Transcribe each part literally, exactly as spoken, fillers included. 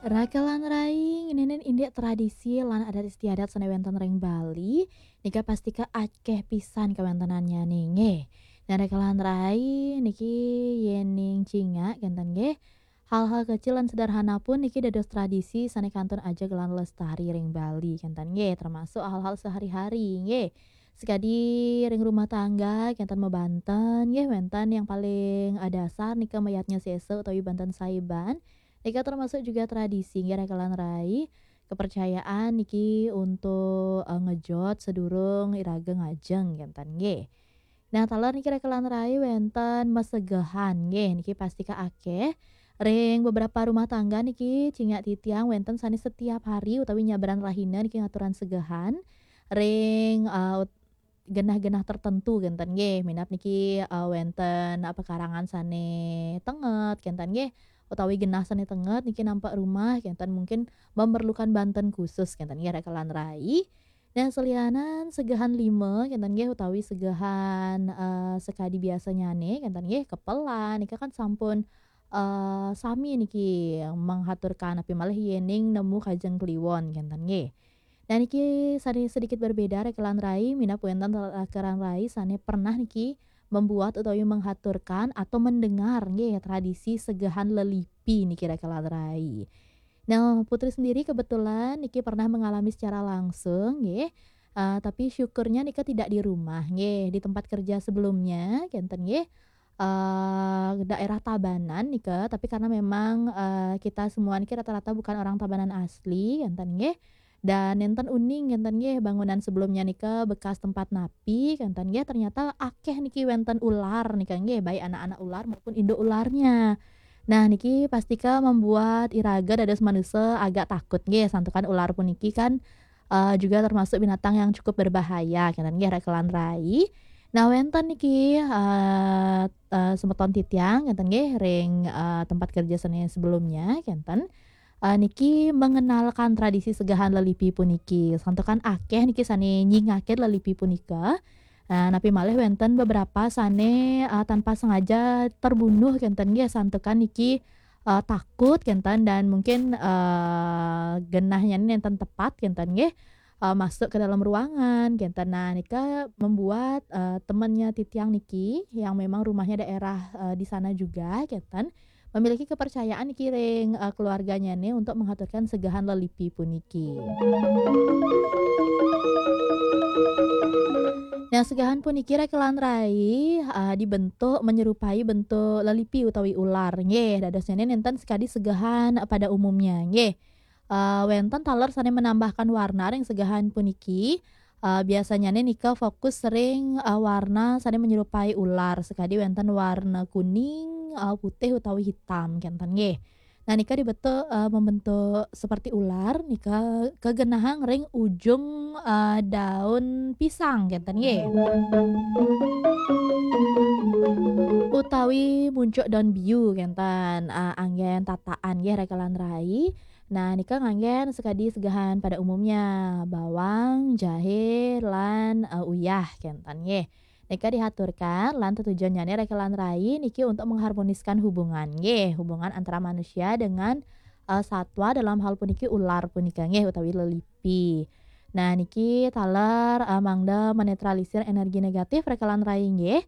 Raka lan rai, ngeninin indik tradisi lan adat istiadat sane wenten ring Bali, nika pastika akeh pisan kawentenannyane, nggih. Nah, raka lan rai, niki yening cingak kenten nggih, hal-hal kecil lan sederhana pun niki dados tradisi sane kantun ajeg lan lestari ring Bali kenten nggih, termasuk hal-hal sehari-hari nggih. Sekadi ring rumah tangga kenten mabanten nggih, wenten yang paling, eh, dasar nika mayadnya sesa utawi banten saiban. Nika termasuk juga tradisi nggih, raka lan rai, kepercayaan niki untuk, eh, ngejot sedurung iraga ngajeng kenten nggih. Nah, taler niki raka lan rai wenten masegehan nggih, niki pastika akeh. Ring beberapa rumah tangga niki cingak titiang wenten sane setiap hari utawi nyabran rahina niki ngaturang segehan ring, eh, ut-, genah-genah tertentu kenten nggih. Minab niki, eh, wenten, eh, pekarangan sane tenget kenten nggih, utawi genah sane tenget niki nampak rumah kenten mungkin memerlukan banten khusus kenten nggih, raka lan rai. Nah, selianan segehan lima kenten nggih, utawi segehan, eh, sekadi biasanyane kenten nggih, kepelan nika kan sampun, eh, sami niki menghaturkan, napi malih yening nemu kajeng kliwon kenten nggih. Nah, niki sane sedikit berbeda, raka lan rai, minab wenten raka lan rai sane pernah niki membuat utawi menghaturkan atau mendengar nggih tradisi segehan lelipi niki, raka lan rai. Nah, Putri sendiri kebetulan niki pernah mengalami secara langsung nggih. Eh, tapi syukurnya nika tidak di rumah nggih, di tempat kerja sebelumnya kenten nggih. Eh, daerah Tabanan nika, tapi karena memang, eh, kita semua niki rata-rata bukan orang Tabanan asli kenten nggih. Dan nenten uning kenten nggih, bangunan sebelumnya nika bekas tempat napi kenten nggih, ternyata akeh niki wenten ular nika nggih, baik anak-anak ular maupun induk ularnya. Nah, niki pastika membuat iraga dados manusa agak takut nggih, santukan ular puniki kan, eh, juga termasuk binatang yang cukup berbahaya kenten nggih, raka lan rai. Nah, wenten niki, eh, eh, semeton titiang kenten nggih, ring, eh, tempat kerja sane sebelumnya kenten. Eh, niki mengenalkan tradisi segehan lelipi puniki. Santukan akeh niki sane nyingakin lelipi punika. Nah, napi malih wenten beberapa sane, eh, tanpa sengaja terbunuh kenten nggih, santukan niki, eh, takut kenten dan mungkin, eh, genahnya nenten tepat kenten nggih, eh, masuk ke dalam ruangan kenten. Nah, nika membuat, eh, temannya titiang niki yang memang rumahnya daerah, eh, di sana juga kenten, memiliki kepercayaan niki ring, eh, keluarganyane untuk menghaturkan segehan lelipi puniki. Nah, segehan puniki raka lan rai, eh, dibentuk menyerupai bentuk lelipi utawi ular nggih. Dadosnyane nenten sekadi segehan pada umumnya nggih. Eh, wenten taler sane menambahkan warna ring segehan puniki. Eh, biasanyane nika fokus ring, eh, warna sane menyerupai ular, sekadi wenten warna kuning, eh, putih utawi hitam kenten nggih. Nah, nika dibentuk, eh, membentuk seperti ular, nika kegenahang ring ujung, eh, daun pisang kenten nggih. Utawi muncuk daun biu kenten, eh, anggen tataan nggih, raka lan rai. Nah, nika nganggen sekadi segehan pada umumnya, bawang, jahe, lan, eh, uyah kenten nggih. Nika dihaturkan lan tetujonnyane raka lan rai niki untuk mengharmoniskan hubungan nggih, hubungan antara manusia dengan, eh, satwa, dalam hal puniki ular punika nggih, utawi lelipi. Nah, niki taler, eh, mangda menetralisir energi negatif raka lan rai nggih.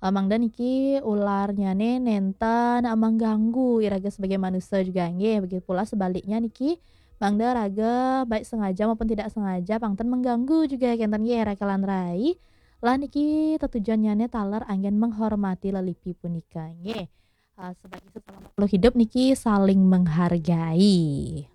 Eh, mangda niki ularnyane nenten, eh, mengganggu iraga sebagai manusia juga nggih. Begitu pula sebaliknya niki, mangda raga baik sengaja maupun tidak sengaja pangten mengganggu juga kenten nggih, raka lan rai. Lah niki tetujonnyane taler anggen menghormati lelipi punika nggih. Eh, sebagai sesama makhluk hidup niki saling menghargai.